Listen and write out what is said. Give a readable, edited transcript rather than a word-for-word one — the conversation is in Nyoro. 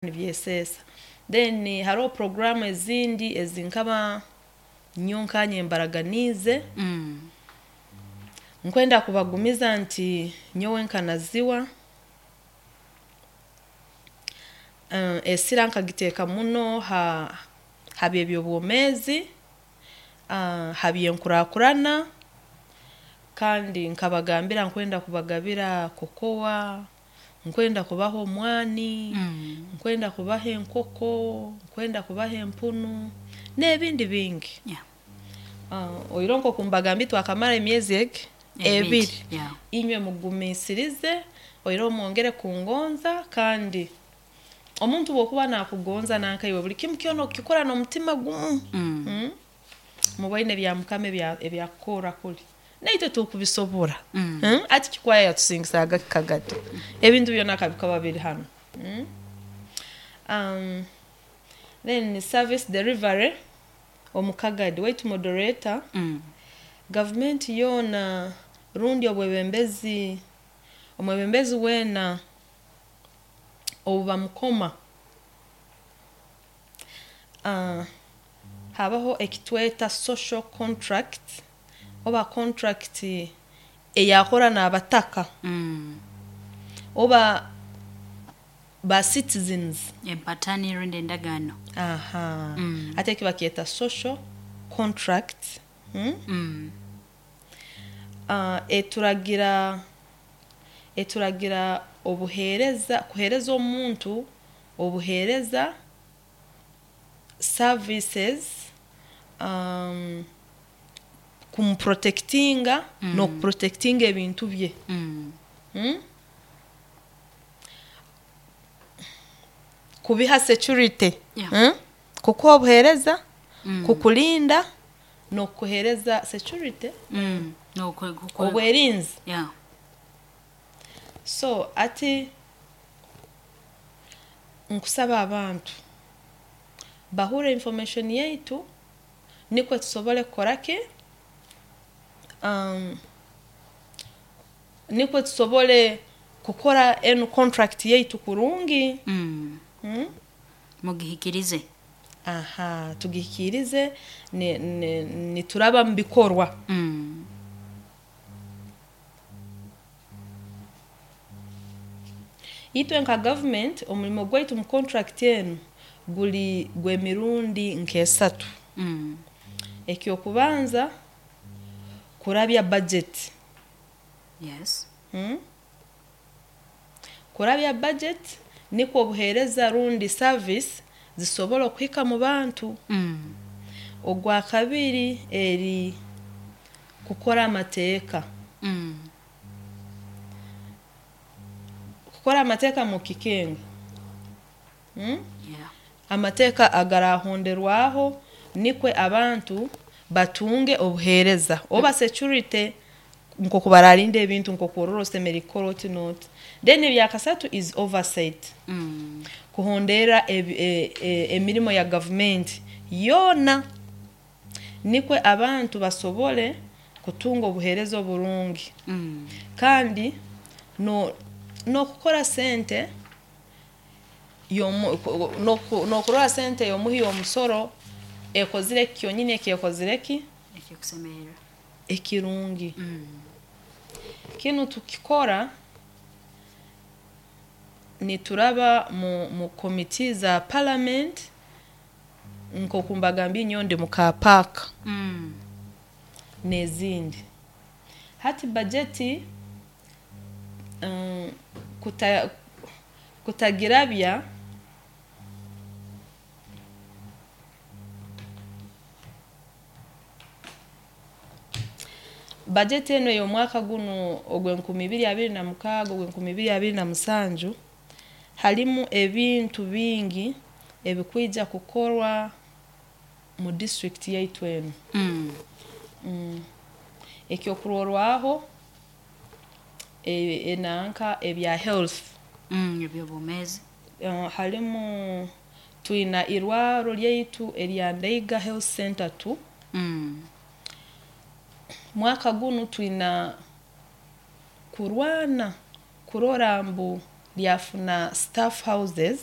Nibyeseesa. Then haroho puroguraamu ezindi ezinkaba nyowe nkanye mbaraganiize. Nkwenda kubagumiza nti nyowe nka Naziwa, esira nkagiteeka muno ha by'ebyobwomeezi, ha by'enkurakurana, kandi nkabagambira nkwenda kubagabira cocoa, nkwenda kubaha omwani, nkwenda kubaha enkoko, nkwenda kubaha empunu n'ebindi bingi. Oihireho nk'oku mbagambiire twakamara emyezi egi 2, inywe mugumiisirize, oihireho mwongere kungonza, kandi omuntu obu okuba naakugonza nanka iwe buli kimu kyona okikora n'omutima gumu, muboine ebya mukama ebi akukorra kuli, naitwe tukubisobora. Hati Kikwaya yatusingisaaga ki Kagadi? Ebintu byona ka bikaba biri hanu. Then service delivery omu Kagadi, waitu moderator, gavumenti yoona rundi obwebembezi, omwebembezi weena obu bamukoma, habaho eki tweta social contract oba contract ei akora n'abataka oba ba citizens. Empatani rundi endagaano. Hati eki bakyeta social contract. Eturagira obuheereza, kuheereza omuntu obuheereza, services, kumuprotectinga n'okuprotectinga ebintu bye. Kubiha security, kukuha obuheereza, kukulinda, n'okukuheereza security, obwerinzi. So hati nkusaba abantu bahuurre information yaitu nikwo tusobole kukora ki, nikwo tusobole kukora enu contract yaitu kurungi. Mugihikirize. Tugihikiirize nituraba mu bikorwa. Itwe nka gavumenti omurimo gwaitu mu contract enu guri gw'emirundi nk'esatu. Eky'okubanza, kurabya budget. Kurabya budget nikwo obuheereza rundi service zisobole kuhika mu bantu. Ogwakabiri eri kukora amateeka. Kukora amateeka mukikenga, amateeka agaraahonderwaho nikwe abantu batunge obuheereza oba security nk'oku baraarinda ebintu nk'oku orora osemeriire kukora oti n'oti. Then ebyakasatu is oversight, kuhonderra emirimo ya gavumenti yoona nikwe abantu basobole kutunga obuheereza oburungi kandi n'okukora sente n'okurora sente y'omuhi w'omusoro ekozire kyonyini eki ekozire ki? Ekikusemerra. Ekirungi. Kinu tukikora nituraba mu committee za parliament, nk'oku mbagambiire nyowe ndi mu CAPAC n'ezindi. Hati bajeti kutagirabya, bajeti enu ey'omwaka gunu ogw'enkumi ibiri abiri na mukaaga, ogw'enkumi ibiri abiri na musanju, harimu ebintu bingi ebikwija kukorwa mu district yaitu enu. Ekyokurorwaho, enanka ebya health. Eby'obwomeezi. Harimu twina irwarro lyaitu erya Ndaiga Health Center 2. Mwaka gunu twina kurwana kurora ngu lyafuna staff houses.